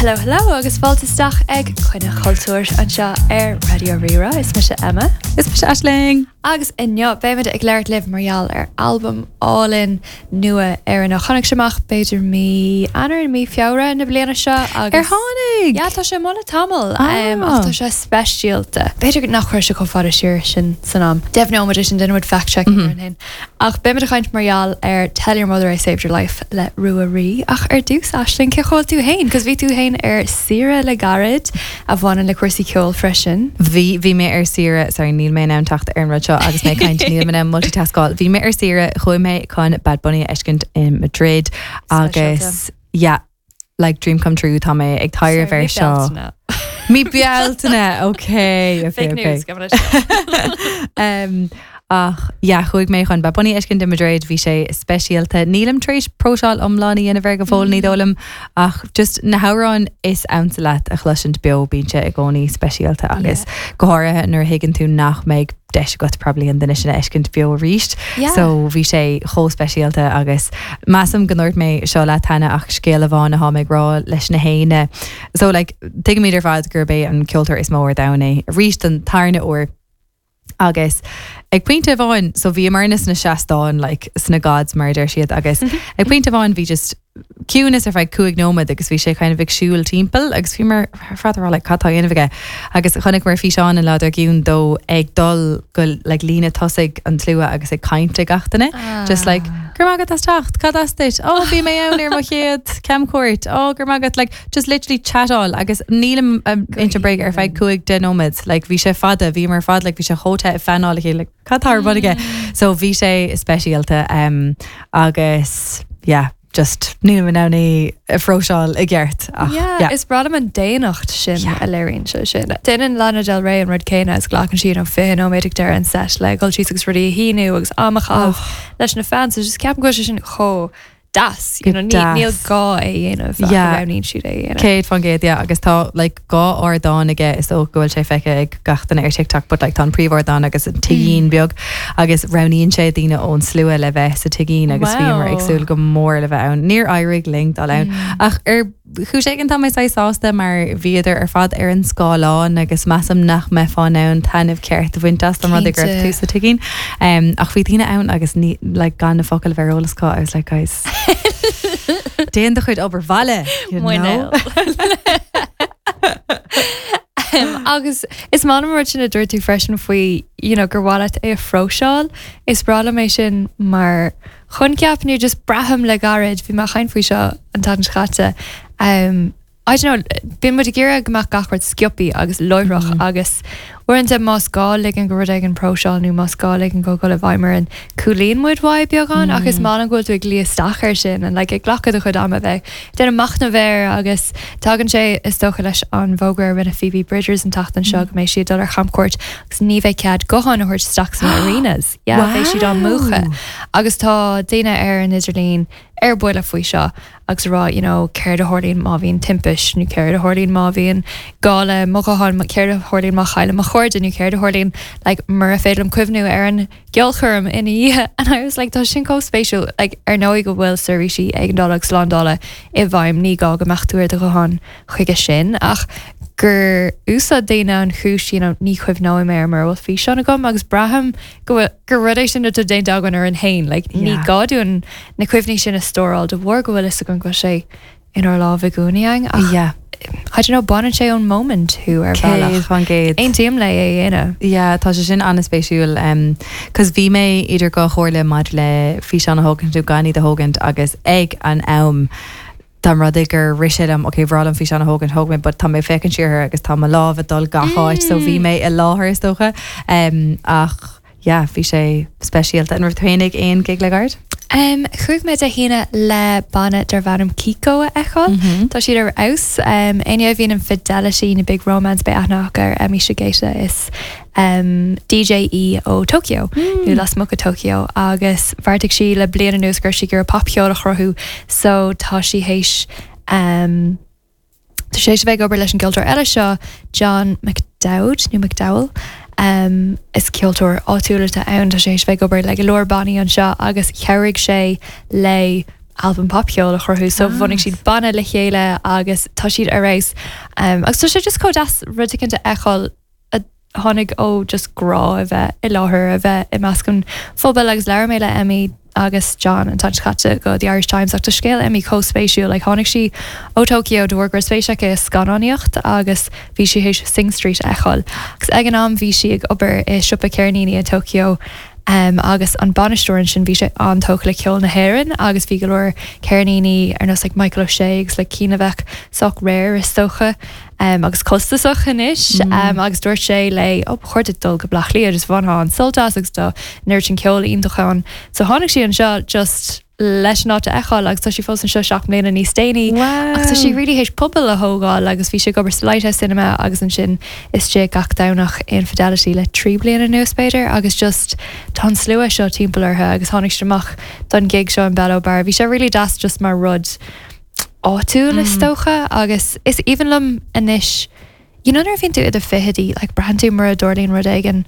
Hello hello agus fáilte isteach ag Coinne Chultúir anseo ar Raidió Rí-Rá. Is mise Emma. Is mise Aisling. Agus inniu beimid ag labhairt libh mar gheall ar albam álainn nua Éireannach. Tháinig sé amach b'fhéidir mí Eanáir, mí Feabhra na bliana seo agus. Ar tháinig? Yeah, tá sé amuigh le tamall ach tá sé speisialta. B'fhéidir nach raibh sé chomh fada siar sin san am. Deimhneoimid é sin, déanfaimid fact-checking orainn féin. Ach beimid ag caint mar gheall ar Tell Your Mother I Saved Your Life le Rua Rí. Ach ar dtús, Aisling, cén chaoi a bhfuil tú féin? Cos bhí tú féin ar saoire le gairid a bhaineann le cúrsaí ceoil freisin. Bhí, bhí mé ar saoire, sorry, níl mé in ann teacht ar an rud seo agus mé ag caint, níl mé in ann multitaskáil. Bhí mé ar saoire, chuaigh mé chun Bad Bunny a fheiscint in Madrid agus yeah, like dream come true, tá mé ag taibhreamh air seo. Mí Bealtaine, ok, ok, Fake ok. news, gabh mo leithscéal. Um, ach yeah, chuaigh mé chun Bad Bunny a fheiscint i Madrid, bhí sé speisialta. Nílim tar éis próiseáil iomlán a dhéanamh air go fóill, ní dóigh liom, ach just na hamhráin is ansa leat a chloisint beo, bíonn sé i gcónaí speisialta agus go háirithe nuair a thuigeann tú nach mbeidh deis agat probably an duine sin a fheiscint beo arís. Yeah. So bhí sé chomh speisialta agus measaim go ndúirt mé seo leat cheana ach scéal amháin atá mé ag rá leis na héinne. So like tuigimid ar fad gurb é an ceoltóir is mó ar domhan é arís don tarna uair agus ag pointe amháin so bhíomarna sna seastáin like sna gods mar a deir siad agus ag pointe amháin bhí just ciúnas ar feadh 5 nóiméad agus bhí sé kind of ag siúl timpeall agus bhíomar ar fad ag rá like cad tá á dhéanamh aige agus chonaiceamar físeán an lá dár gcionn dó ag dul go like líne tosaigh an tslua agus ag caint le gach duine just like go raibh maith agat as teacht, cad as duit? Oh bhí mé ann ar mo chéad camchuairt, oh go raibh maith agat like just literally chatáil agus nílim ag insint bréige ar feadh 5 10 nóiméad like bhí sé fada, bhíomar ar fad like bhí sé chomh te ag feanáil a chéile like Cad tá ar bun aige? So bhí sé speisialta um, agus yeah, just nílim in ann é a phróiseáil i gceart ach yeah. yeah. Is breá liom an daonnacht sin yeah. a léiríonn sé sin. Déanann Lana Del Rey an rud céanna is glacann sí you know, 20 nóiméad ag deireadh an set le dhul síos agus rudaí a shíniú agus am a chaitheamh oh. leis na fans. So just ceapaim go bhfuil sé sin chomh deas. You know, níl gá é a dhéanamh ach Yeah. roghnaíonn siad é a dhéanamh. 100% yeah agus tá like dhá ardán aige is dócha go bhfuil sé feicthe ag gach duine ar TikTok but like tá an príomhardán agus an tigín beag agus roghnaíonn sé daoine ón slua le bheith sa tigín agus bhíomar ag Wow. súil go mór le bheith ann. Níor éirigh linn dul ann ach ar chúis éigin tá mé saghas sásta mar bhíodar ar fad ar an scáileán agus measaim nach mbeifeá in ann taitneamh ceart a bhaint as an rud go raibh tú sa tigín. Um, ach bhí daoine ann agus ní, like, gan na focail a bheith ar eolas acu, I was like, guys, déan do chuid obair bhaile, you know? Um, agus is maith liom an rud sin a dúirt tú freisin faoi you know, gur mhaith leat é a phróiseáil. Is breá liom é sin mar choincheap nó just braithim le gairid, bhí mé ag caint faoi seo an tseachtain seo caite, um, I don't know, bíonn muid ag iarraidh go mbeadh gach rud sciobtha agus láithreach agus uaireanta más gá ligean go rud éigin próiseáil nó más gá ligean go dul i bhfeidhm orainn, cúlaíonn muid uaidh beagán ach is maith liom go bhfuil tú ag luí isteach air sin and like ag glacadh do chuid ama bheith ag déanamh machnamh air agus tagann sé is dócha leis an bhfógra a rinne Phoebe Bridgers an tseachtain seo go mbeidh sí ag dul ar chamchuairt agus ní bheidh cead gutháin a thabhairt isteach sna arenas. Yeah, beidh siad á múchadh. Agus tá daoine ar an idirlíon ar buile faoi seo agus ag rá, you know, céard a tharlaíonn má bhíonn timpist nó céard a tharlaíonn má bhíonn gá le mo ghuthán, céard a tharlaíonn má chaillim mo chairde nó céard a tharlaíonn like mura féidir liom cuimhniú ar an gceolchoirm ina dhiaidh. And I was like, tá sin chomh spéisiúil. Like, ar ndóigh go bhfuil seirbhísí éigeandála agus slándála i bhfeidhm, ní gá go mbeadh tú ar do ghuthán chuige sin ach gur úsáid daoine an chúis you know ní chuimhneoidh mé air mura bhfuil físeán agam agus braithim go bhfuil gur rud é sin atá déanta againn orainn féin like ní Yeah. gá dúinn na cuimhní sin a stóráil de bharr go bhfuil fhios againn go bhfuil sé inár lámh i gcónaí againn ach Yeah. I don't know baineann sé ón moment thú ar bhealach. 100%. Aontaím le é a dhéanamh. Yeah, tá sé sin an-spéisiúil um, cos bhí mé idir dhá chomhairle maidir le físeán a thógaint nó gan iad a thógaint agus ag an am Dá mba rud é gur rith sé liom, ok, bhreá liom físeán a thógaint, thóg mé, but tá mé ag féachaint siar air agus tá mo lámh ag dul gach áit, so bhí mé i láthair is dócha. Um, ach yeah, bhí sé speisialta. An raibh tú féin ag aon gig le gairid? Um, chuaigh mé Dé hAoine le banna darb ainm Kiko a fheiceáil. Tá siad ar fheabhas. Um, éinne a bhíonn in Fidelity nó Big Romance beidh aithne acu ar Emi Shigeta is DJ í ó Tokyo nó lasmuigh de Tokyo agus bheartaigh sí le bliain anuas go raibh sí ag iarraidh popcheol a chruthú so tá sí théis tá sí théis a bheith ag obair leis an gceoltóir eile seo John McDowd nó McDowell is ceoltóir áitiúil atá ann tá sé théis a bheith ag obair le go leor bannaí anseo agus chabhraigh sé le. albam popcheoil a chruthú so bhunaigh siad banna le chéile agus tá siad ar fheabhas. Agus tá sé just chomh deas rud éicint a fheiceáil a tháinig ó just grá a bheith i láthair, a bheith i measc an phobail agus labhair mé le Emi agus John an tseachtain seo caite do The Irish Times ach tá scéal Emi chomh spéisiúil, like tháinig sí ó Tokyo de bharr go raibh spéis aici i scannánaíocht agus bhí sí théis Sing Street a fheiceáil agus ag an am bhí sí ag obair i siopa ceirníní i Tokyo agus an bainisteoir ansin bhí sé an-tógtha le ceol na hÉireann agus bhí go leor ceirníní ar nós like Michael O'Shea agus like cinn a bheadh sách rare is dócha agus costasach anois agus dúirt sé léi oh ba chóir duit dul go Bleá Cliath just bhainfeá an-sult as agus tá an oiread sin ceol iontach ann. So tháinig sí anseo just leis an áit a fheiceáil agus tá sí fós anseo 7 mbliana níos déanaí ach tá sí really théis pobal a thógáil agus bhí sí ag obair sa Lighthouse Cinema agus ansin istigh gach Domhnach in Fidelity le 3 bliana anuas b'fhéidir agus just tá an slua seo timpeall orthu agus tháinig siad amach don gig seo in Bello Bar. Bhí sé really deas just mar rud áitiúil is dócha agus is aoibhinn liom anois you know nuair a bhíonn tú i do fichidí like braitheann tú mura dtarlaíonn rud éigin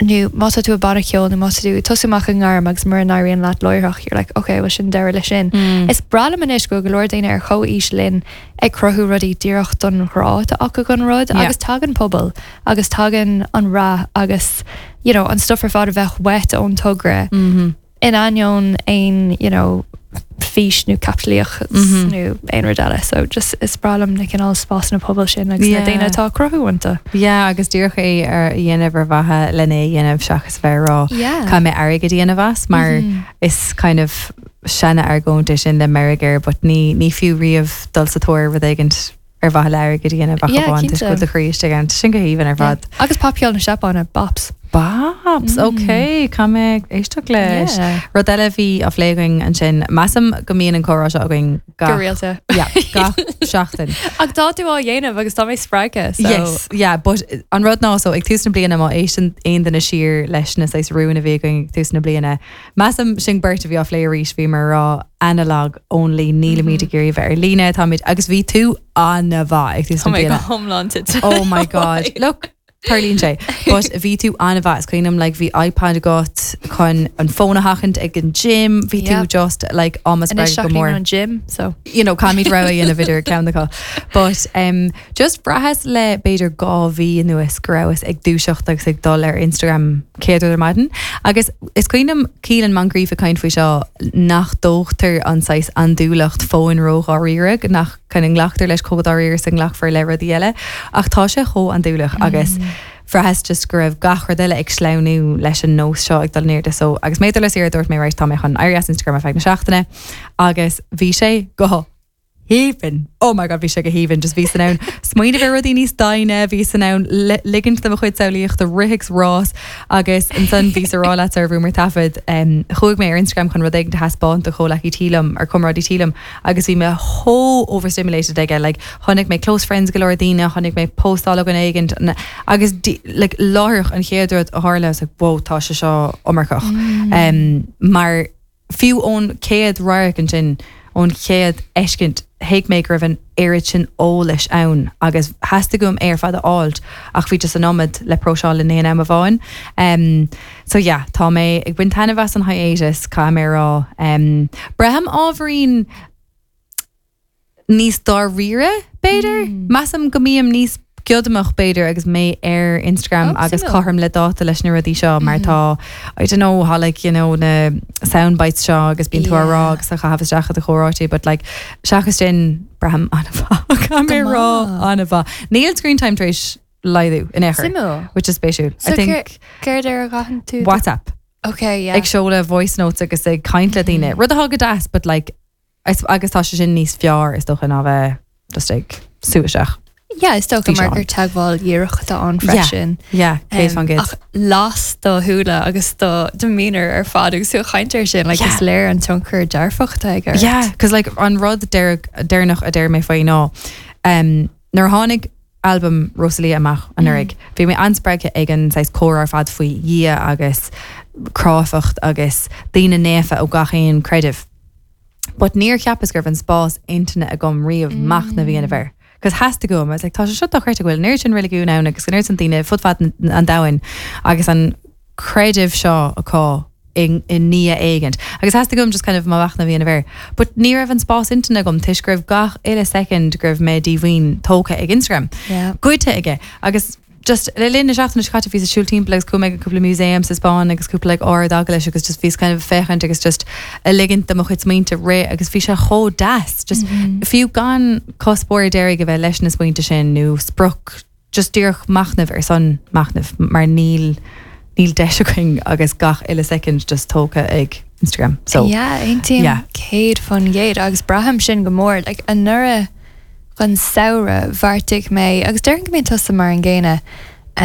nó má tá tú i banna ceoil nó má tá tú ag tosú amach i ngairm agus mura n-éiríonn leat láithreach you're like ok well sin deireadh leis sin. Is breá liom anois go bhfuil go leor daoine ar chomhaois linn ag cruthú rudaí díreach don ghrá atá acu don rud agus tagann pobal agus tagann an rath agus you know an stuff ar fad a bheadh uait ón togra. in ainneoin aon you know fís nó caipitlíochas nó aon rud eile. So just is breá liom na cineál spásanna pobail sin agus na daoine atá ag cruthú iontu. Yeah, agus díreach é a dhéanamh ar mhaithe lena é a dhéanamh seachas a bheith ag rá caithfidh mé airgead a dhéanamh as mar is kind of seana-argóint é sin le meirg air but ní ní fiú riamh dul sa tóir ar rud éigint ar mhaithe le airgead a dhéanamh ach amháin toisc go bhfuil do chroí istigh ann. Sin go haoibhinn ar fad. Agus popcheol na Seapáine, bops. Bops, ok, caithfidh mé éisteacht leis. Rud eile a bhí á phlé againn ansin, measaim go mbíonn an comhrá seo againn gach. Go rialta. Yeah, gach seachtain. Ach tá tú á dhéanamh agus tá mé spreagtha, so. Yes, yeah, but an rud ná, so ag tús na bliana má éisteann aon duine siar leis na saghas rúin a bhí againn ag tús na bliana, Measaim sinn beirt a bhí á phlé arís, bhíomar ag rá analog only, nílimid ag iarraidh bheith ar líne, táimid, agus bhí tú an-mhaith ag tús na Tá mé go bliana. hiomlán tite. Oh my God. Look, tarlaíonn sé. But bhí tú an-mhaith, is cuimhin liom, like, bhí iPad agat chun an fón a sheachaint ag an gym, bhí tú Yeah. just, like, á mo Anois spreagadh go seachnaím mór. an gym, so. You know, caithfimid rogha a dhéanamh idir ceann acu. But um, just bhraitheas le b'fhéidir 2 mhí anuas go rabhas ag dúiseacht agus ag dul ar Instagram céad rud ar maidin. Agus is cuimhin liom Keelan Moncrieff ag caint faoi seo nach dtógtar an saghas andúileacht fóin ró-dháiríre, nach kind of nglactar leis chomh dáiríre is a nglacfar le rudaí eile. Ach tá sé chomh andúileach agus bhraitheas just go raibh gach rud eile ag sleamhnú leis an nós seo ag dul in airde. So agus mé ag dul ar saoire dúirt mé right tá mé chun éirí as Instagram ar feadh na seachtaine agus bhí sé go haoibhinn. Oh my God, bhí sé go haoibhinn. Just bhíos in ann smaoineamh ar rudaí níos doimhne, bhíos in ann ligint do mo chuid samhlaíochta rith agus rás agus ansan bhíos a rá leat sar a bhrúmar taifead, chuaigh mé ar Instagram chun rud éigin a thaispeáint do chomhleacaí tí liom, ar comrádaí tí liom agus bhí mé chomh overstimulated aige, like chonaic mé close friends go leor daoine, chonaic mé postáil ó dhuine éigint agus like láithreach an chéad rud a tharla, I was like, whoa, tá sé seo iomarcach. Mar Fiú ón chéad radharc ansin, ón chéad fheiscint, thuig mé go raibh an oiread sin eolais ann agus theastaigh uaim é ar fad a fháilt ach bhí just an iomad le próiseáil in aon am amháin. So yeah, tá mé ag baint taitneamh as an hiatus, caithfidh mé a rá. Braithim ábhairín. níos dáiríre, b'fhéidir. Measaim go mbím níos giodamach, b'fhéidir, agus mé ar Instagram Oh, agus suimiúil. cothrom le dáta leis na rudaí seo mar tá, I don't know, tá like, you know, na sound bites seo agus bíonn tú á rá Yeah. agus á chaitheamh isteach i do chomhráití, but like, seachas sin, braithim an-mhaith. Caithfidh mé Go rá maith. an-mhaith. Níl screen time tar éis laghdú in aon chor, Suimiúil. which is spéisiúil. So I think céard air a gcaitheann tú? WhatsApp, Okay, yeah. ag seoladh voice notes agus ag caint le daoine. Rud atá go deas, but like, Agus tá sé sin níos fearr is dócha ná bheith just ag sú isteach. Yeah, is dócha mar Físeán. gur teagmháil dhíreach atá ann freisin. Yeah, 100%. Ach las do shúile agus do demeanor ar fad agus tú ag caint air sin, like, Yeah. is léir an tionchar dearfach atá aige ort. Yeah, cos like an rud deireanach a deir mé faoi ná um, nuair a tháinig albam Rosalía amach anuraidh, bhí mé an-spreagtha ag an saghas comhrá ar fad faoi Dhia agus cráifeacht agus daoine naofa ó gach aon creideamh. But níor cheapas go raibh an spás intinne agam riamh machnamh a dhéanamh air. Cos theastaigh uaim, I was like, tá sé seo dochreidte go bhfuil an oiread sin reiligiún ann agus an oiread sin daoine fud fad an domhain agus an creideamh seo acu i ndiaidh éigint. Agus theastaigh uaim just kind of mo mhachnamh a dhéanamh air. But ní raibh an spás intinne agam toisc go raibh gach uile soicind go raibh mé díomhaoin tógtha ag Instagram. Goidte aige. Agus just le linn na seachtaine seo caite bhíos ag siúl timpeall agus chuaigh mé go cúpla museum sa Spáinn agus cúpla like ard-eaglais agus just bhíos kind of ag féachaint agus just ag ligint do mo chuid smaointe rith agus bhí sé chomh deas just fiú gan cuspóir deiridh a bheith leis na smaointe sin nó sprioc just díreach machnamh ar son machnaimh mar níl níl deis againn agus gach uile soicind just tógtha ag Instagram so Yeah, aontaím yeah. 100% agus braithim sin go mór like anuraidh don samhradh bheartaigh mé agus déarfainn go mbíonn tusa mar an gcéanna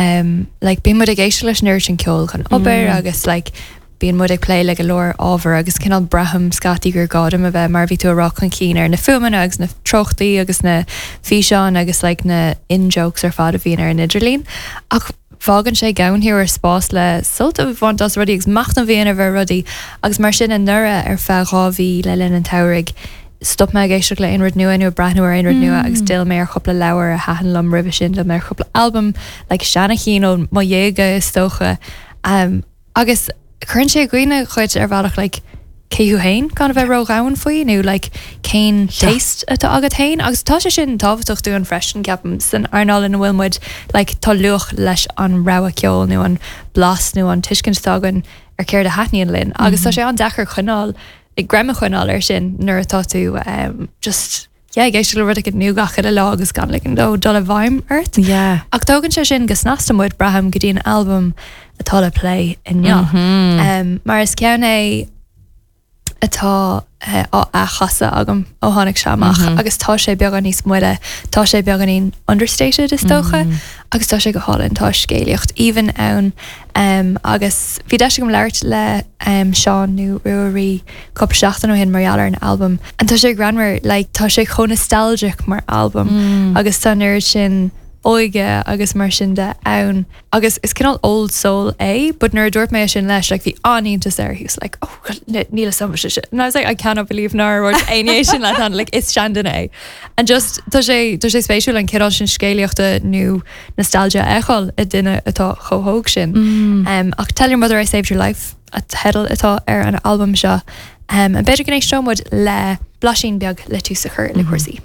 um like bíonn muid ag éisteacht leis an oiread sin ceoil chun obair agus like Bíonn muid ag plé le go leor ábhar agus cineál braithim scaití gur gá dom a bheith, mar a bhí tú a rá, chun cinn ar na fuaimeanna agus na treochtaí agus na físeáin agus like na in-jokes ar fad a bhíonn ar an idirlíon. Ach fágann sé gann thú ar spás le sult a bhaint as rudaí agus machnamh a dhéanamh ar rudaí agus mar sin anuraidh ar feadh 2 mhí le linn an tsamhraidh stop mé ag éisteacht le aon rud nua nó ag breathnú ar aon rud nua agus d'fhill mé ar chúpla leabhar a thaitin liom roimhe sin, d'fhill mé ar chúpla albam like seana-chinn ó mo dhéaga is dócha. Um, Agus cuireann sé i gcuimhne dhuit ar bhealach like cé thú féin gan a bheith ródhomhain faoi nó like cén taste atá agat féin agus tá sé sin tábhachtach dúinn freisin ceapaim san earnáil ina bhfuil muid like tá luach leis an rogha ceoil nó an blas nó an tuiscint atá againn ar céard a thaitníonn linn agus tá sé an-deacair coinneáil greim a choinneáil air sin nuair atá tú um, just yeah, ag éisteacht le rud éicint nua gach uile lá agus gan ligean dó dul i bhfeidhm ort. Yeah. Ach tógann sé sin go snasta muid, braithim, go dtí an albam atá le plé inniu. Mm -hmm. um, mar is ceann é atá uh, á athchasadh agam ó tháinig sé amach mm -hmm. agus tá sé beagán níos moille, tá sé beagáinín understated is dócha mm -hmm. agus tá sé go hálainn tá scéalaíocht aoibhinn ann um, agus bhí deis agam labhairt le um, Seán nó Ruairí cúpla seachtain ó shin mar gheall ar an albam and tá sé greannmhar like tá sé chomh nostalgic mar albam mm. agus tá an oiread sin óige agus mar sin de ann agus is cineál old soul é but nuair a dúirt mé sin leis like bhí an-iontas air he was like oh níl a fhios agam sin and I was like I cannot believe nár dhúirt éinne sin leat like is seanduine é and just tá sé tá sé spéisiúil an cineál sin scéalaíochta nó nostalgia a fheiceáil i duine atá chomh hóg sin mm. um, ach tell your mother I saved your life an teideal atá ar an albam seo. B'fhéidir go n-éisteoidh muid le blaisín beag le tús a chur le cúrsaí.